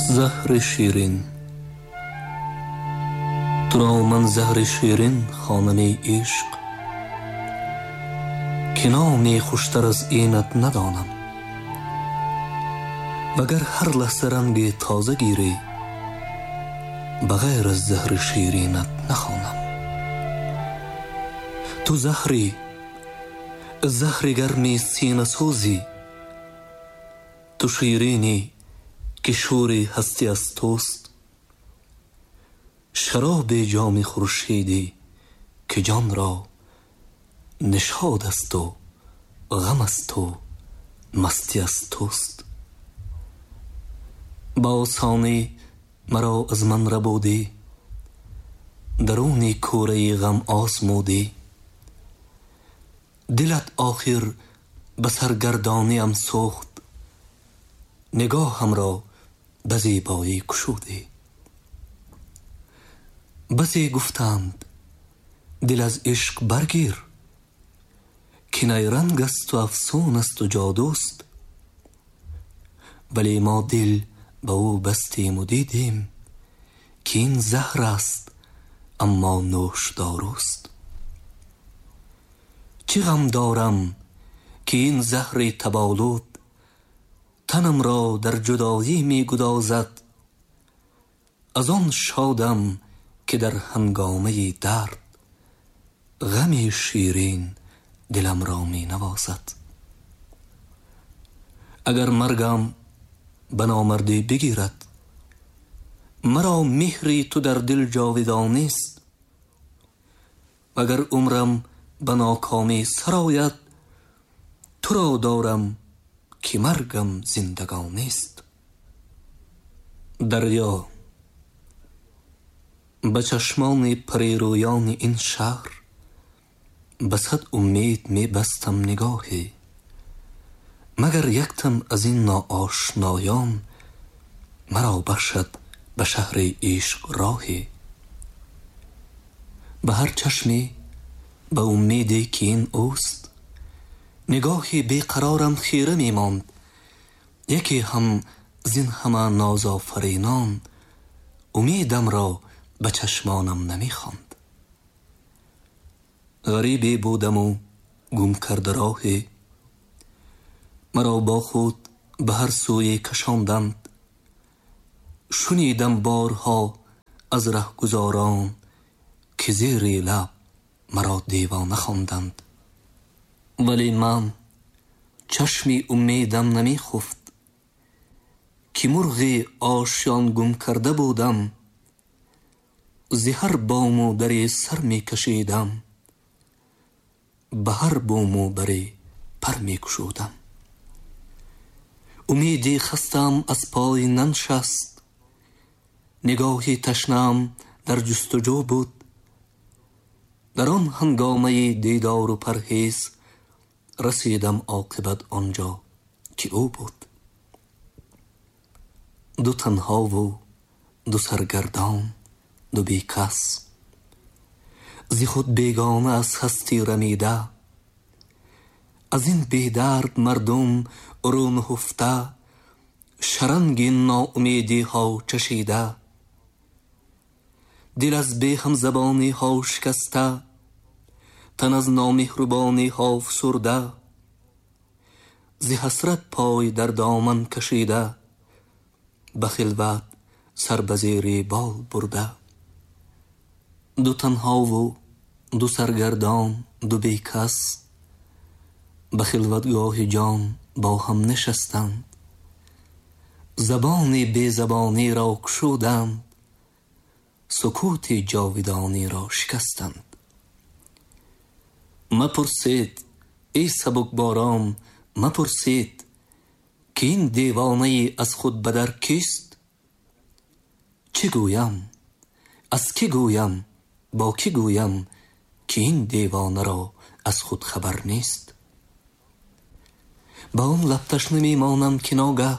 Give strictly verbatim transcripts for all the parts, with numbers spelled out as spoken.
Заҳри ширин, туро ман заҳри ширин хонами ишқ, ки номи хуштар аз инат надонам. Вагар ҳар лаҳза ранги тоза гирӣ, ба ғайр аз заҳри ширинат нахонам. Ту заҳрӣ, заҳри гарми синасӯзӣ, ту ширинӣ ки шӯри ҳастӣ аз туст. Шароби ҷоми хуршедӣ ки ҷонро нишод аз ту, ғам аз ту, мастӣ аз туст. Ба осонӣ маро аз ман рабудӣ, даруни кӯраи ғам озмудӣ. Дилат охир ба саргардониам сӯхт, нигоҳамро ба зебоӣ кушудӣ. Басе гуфтанд дил аз ишқ баргир, ки найранг асту афсун асту ҷодуст. Вале мо дил ба ӯ бастему дидем, ки ин заҳр аст, аммо нӯшдоруст. Чӣ ғам дорам ки ин заҳри таболуд танамро дар ҷудоӣ мегудозад. Аз он шодам ки дар ҳангомаи дард ғами ширин диламро менавозад. Агар маргам ба номардӣ бигирад, маро меҳри ту дар дил ҷовидонист. Вагар умрам ба нокомӣ сарояд, туро дорам ки маргам зиндагонист. Дарё, ба чашмони парирӯёни ин шаҳр ба сад умед мебастам нигоҳе, магар яктам аз ин ноошноён маро бахшад ба шаҳри ишқ роҳе. Ба ҳар чашме ба умеде ки ин ӯст, нигоҳи беқарорам хира мемонд. Яке ҳам зин ҳама нозофаринон умедамро ба чашмонам намехонд. Ғарибе будаму гум карда роҳе, маро бо худ ба ҳар сӯе кашонданд. Шунидам борҳо аз раҳгузорон, ки зери лаб маро девона хонданд. Вале ман чашми умедам намехуфт, ки мурғи ошён гум карда будам. Зи ҳар бому даре сар мекашидам, ба ҳар бому баре пар мекушодам. Умеди хастаам аз пой наншаст, нигоҳи ташнаам дар ҷустуҷӯ буд. Дар он ҳангомаи дидору парҳез расидам оқибат он ҷо ки ӯ буд. Ду танҳову ду саргардон, ду бекас, зи худ бегона аз ҳастӣ рамида. Аз ин бедард мардум рӯ нуҳуфта, шаранги ноумедиҳо чашида. Дил аз беҳамзабониҳо шикаста, тан аз номеҳрубониҳо фсурда. Зи ҳасрат пой дар доман кашида, ба хилват сар ба зери бол бурда. Ду танҳову ду саргардон, ду бекас, ба хилватгоҳи ҷон бо ҳам нишастанд. Забони безабониро кушуданд, сукути ҷовидониро шикастанд. Мапурсед эй сабукборон, мапурсед, ки ин девонаи аз худ бадар кист? Чӣ гӯям, аз кӣ гӯям, бо кӣ гӯям, ки ин девонаро аз худ хабар нест? Ба он лаб ташна мемонам, ки ногаҳ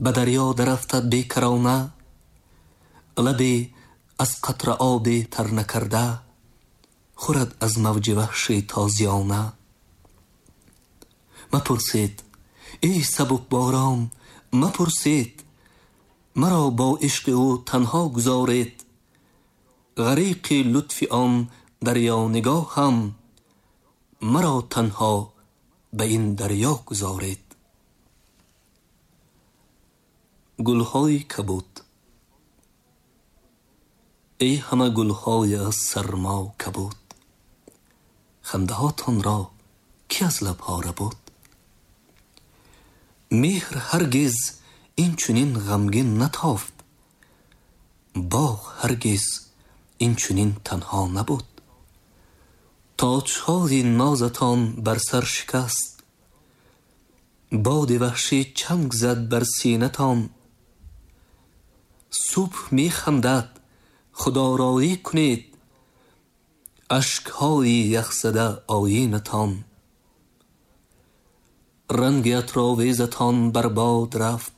ба дарё дарафтад бекарона. Лабе аз қатра обе тар накарда, хӯрад аз мавҷи ваҳши тозиёна. Мапурсед эй сабукборон, мапурсед, Маро бо ишқи ӯ танҳо гузоред, ғариқи лутфи он дарё нигоҳам, маро танҳо ба ин дарё гузоред. Гулҳои кабуд. Эй ҳама гулҳои аз сармо кабуд, хандаҳотонро ки аз лабҳо рабуд? Меҳр ҳаргиз ин чунин ғамгин натофт, боғ ҳаргиз ин чунин танҳо набуд. Тоҷҳои нозатон бар сар шикаст, боди ваҳшӣ чанг зад бар синатон. Субҳ механдад, худороӣ кунед, ашкҳои яхзада оинатон. Ранги атровезатон бар бод рафт,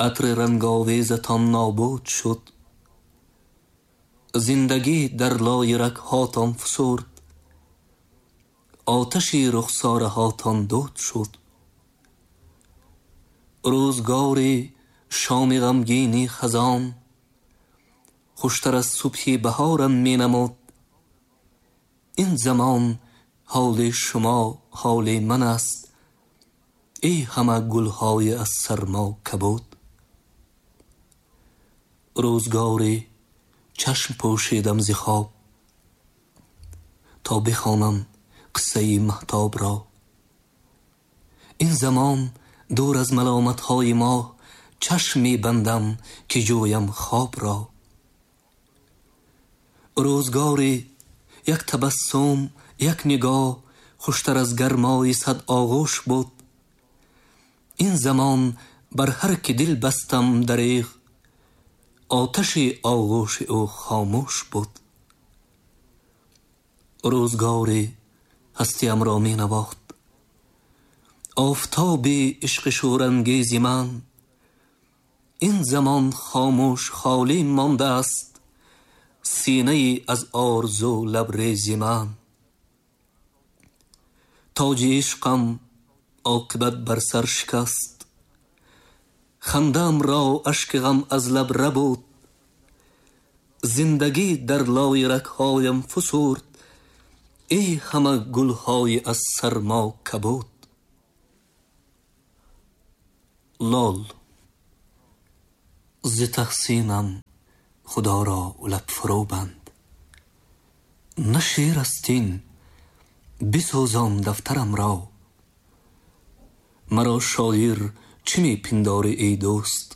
атри ранговезатон нобуд шуд. Зиндагӣ дар лои рагҳотон фусурд, оташи рухсораҳотон дуд шуд. Рӯзгори шоми ғамгини хазон хуштар аз субҳи баҳорам менамуд. Ин замон ҳоли шумо ҳоли ман аст, эй ҳама гулҳои аз сармо кабуд. Рӯзгори чашм пӯшидам зи хоб, то бихонам қиссаи маҳтобро. Ин замон дур аз маломатҳои моҳ, чашм мебандам ки ҷӯям хобро. Рӯзгори як табассум, як нигоҳ хуштар аз гармои сад оғӯш буд. Ин замон бар ҳар ки дил бастам дареғ, оташи оғӯши ӯ хомӯш буд. Рӯзгори ҳастиамро менавохт офтоби ишқи шӯрангези ман. Ин замон хомӯш холӣ мондааст синаи аз орзу лабрези ман. Тоҷи ишқам оқибат бар сар шикаст, хандаамро ашки ғам аз лаб рабуд. Зиндагӣ дар лои рагҳоям фусурд, эй ҳама гулҳои аз сармо кабуд. Лол. Зи таҳсинам худоро лаб фурӯ банд, на шеър аст ин, бисӯзон дафтарамро. Маро шоир чӣ мепиндорӣ эй дӯст,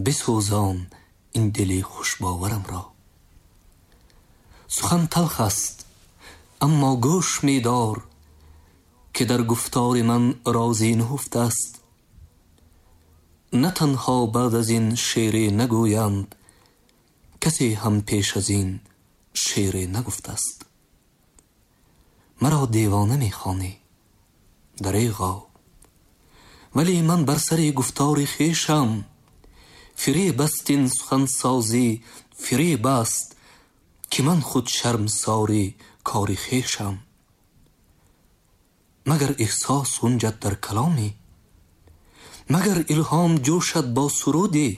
бисӯзон ин дили хушбоварамро. Сухан талх аст, аммо гӯш медор, ки дар гуфтори ман рози нуҳуфт аст. На танҳо баъд аз ин шеъре нагӯянд, касе ҳам пеш аз ин шеъре нагуфтааст. Маро девона мехонӣ, дареғо, вале ман бар сари гуфтори хешам. Фиреб аст ин сухансозӣ, фиреб аст, ки ман худ шармсори кори хешам. Магар эҳсос ғунҷад дар каломе, магар илҳом ҷӯшад бо суруде,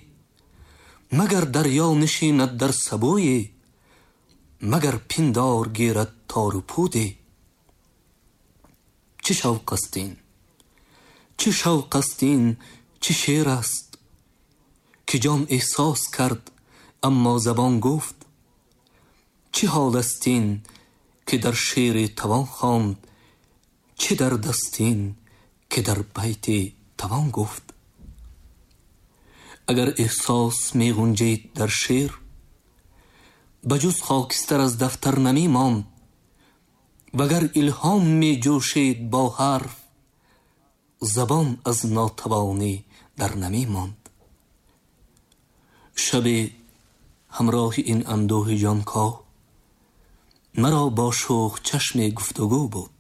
магар дарё нишинад дар сабӯе, магар пиндор гирад тору пуде. Чӣ шавқ аст ин, чӣ шавқ аст ин, чӣ шеър аст, ки ҷон эҳсос кард, аммо забон гуфт. Чӣ ҳол аст ин, ки дар шеъре тавон хонд, чӣ дард аст ин, ки дар байте тавон гуфт. Агар эҳсос меғунҷид дар шеър, ба ҷуз хокистар аз дафтар намемонд. Вагар илҳом меҷӯшид бо ҳарф, забон аз нотавонӣ дар намемонд. Шабе ҳамроҳи ин андӯҳи ҷонкоҳ, маро бо шӯх чашме гуфтугӯ буд.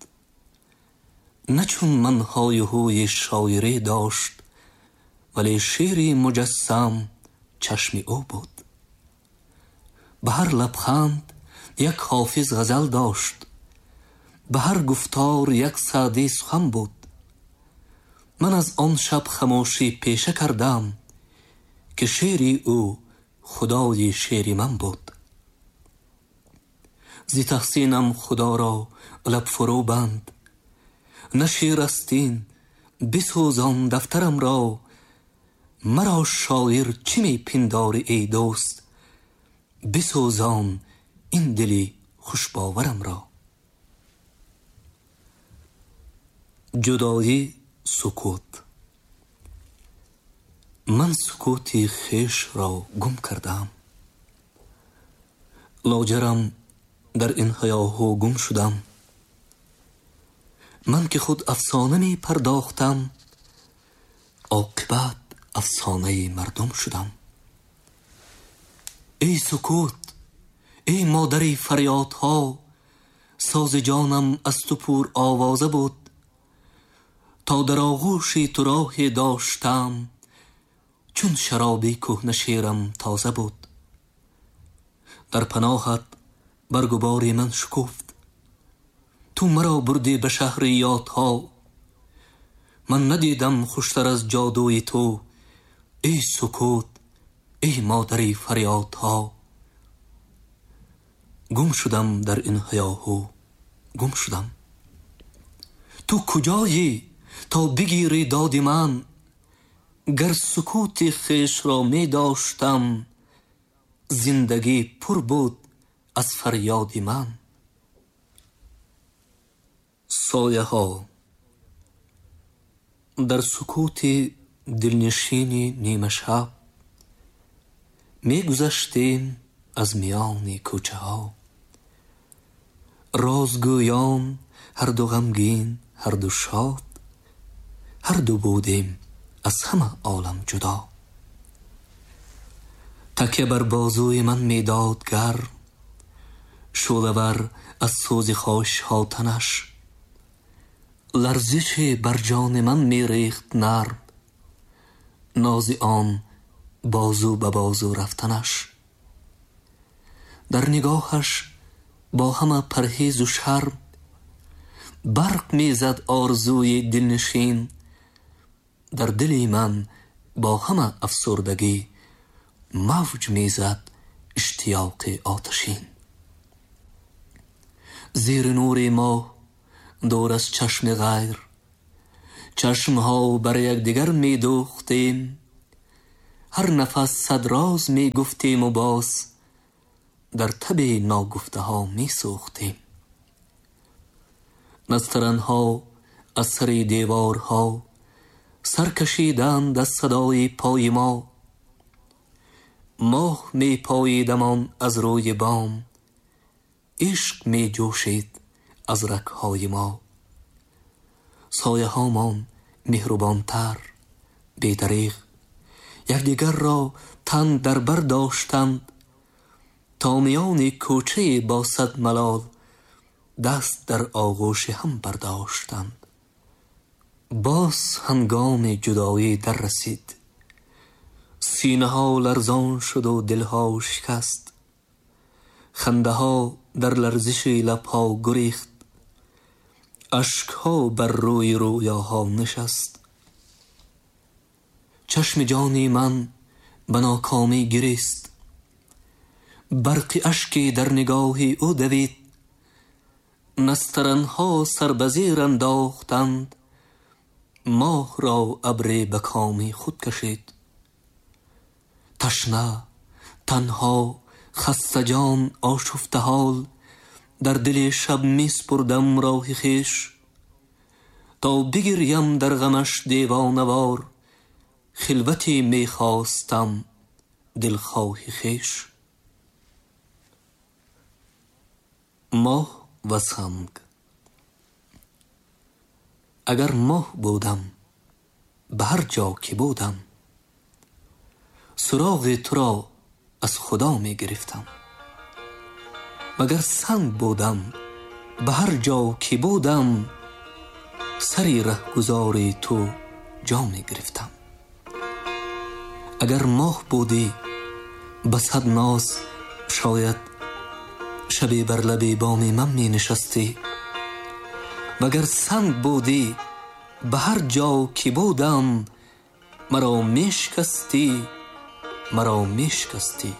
На чун ман ҳою ҳӯи шоирӣ дошт, вале шеъри муҷассам чашми ӯ буд. Ба ҳар лабханд як ҳофиз ғазал дошт, ба ҳар гуфтор як Саъдӣ сухан буд. Ман аз он шаб хамошӣ пеша кардам, ки шеъри ӯ худои шеъри ман буд. Зи таҳсинам Худоро лаб фурӯ банд, на шеър аст ин, бисӯзон дафтарам ро. Маро шоир чӣ мепиндорӣ эй дӯст, бисӯзон ин дили хушбоварам ро. Ҷудоӣ сукут. Ман сукути хешро гум кардам, лоҷарам дар ин ҳаёҳу гум шудам. Ман ки худ афсона мепардохтам, оқибат афсонаи мардум шудам. Эй сукут, эй модари фарёдҳо, сози ҷонам аз ту пур овоза буд. То дар оғӯши ту роҳе доштам, чун шароби кӯҳна шерам тоза буд. Дар паноҳат баргу бори ман шукуфт, ту маро бурдӣ ба шаҳри ёдҳо. Ман надидам хуштар аз ҷодуи ту, эй сукут, эй модари фарёдҳо. Гум шудам дар ин ҳаёҳу, гум шудам. Ту куҷоӣ то бигирӣ доди ман? Гар сукути хешро медоштам, зиндагӣ пур буд аз фарёди ман. Сояҳо. Дар сукути дилнишини нимашаб мегузаштем аз миёни кӯчаҳо. Розгӯён ҳарду ғамгин, ҳарду шод, ҳарду будем аз ҳама олам ҷудо. Такя бар бозуи ман медод гарм, шӯълавар аз сӯзи хоҳишҳо танаш. Ларзише бар ҷони ман мерехт нарм, нози он бозу ба бозу рафтанаш. Дар нигоҳаш бо ҳама парҳезу шарм, барқ мезад орзуи дилнишин. Дар дили ман бо ҳама афсурдагӣ, мавҷ мезад иштиёқи оташин. Зери нури моҳ дур аз чашми ғайр, чашмҳо бар якдигар медӯхтем. Ҳар нафас сад роз мегуфтему боз дар таби ногуфтаҳо месӯхтем. Настаранҳо аз сари деворҳо сар кашиданд аз садои пои мо. Моҳ мепоидамон аз рӯи бом, ишқ меҷӯшид аз рагҳои мо. Сояҳомон меҳрубонтар, бедареғ, якдигарро тан дар бар доштанд. То миёни кӯчае бо сад малол, даст дар оғӯши ҳам бардоштанд. Боз ҳангоми ҷудоӣ дар расид, синаҳо ларзон шуду дилҳо шикаст. Хандаҳо дар ларзиши лабҳо гурехт, ашкҳо бар рӯи рӯёҳо нишаст. Чашми ҷони ман ба нокомӣ гирист, барқи ашке дар нигоҳи ӯ давид. Настаранҳо сар ба зер андохтанд, моҳро абре ба коми худ кашид. Ташна, танҳо, хастаҷон, ошуфтаҳол, дар дили шаб месупурдам роҳи хеш. То бигирям дар ғамаш девонавор, хилвате мехостам дилхоҳи хеш. Моҳ ва санг. Агар моҳ будам, ба ҳар ҷо ки будам, суроғи туро аз Худо мегирифтам. Магар санг будам, ба ҳар ҷо ки будам, сари раҳгузори ту ҷо мегирифтам. Агар моҳ будӣ, ба сад ноз шояд шабе бар лаби боми ман менишастӣ. Вагар санг будӣ, Ба ҳар ҷо ки будам, маро мешикастӣ, маро мешикастӣ.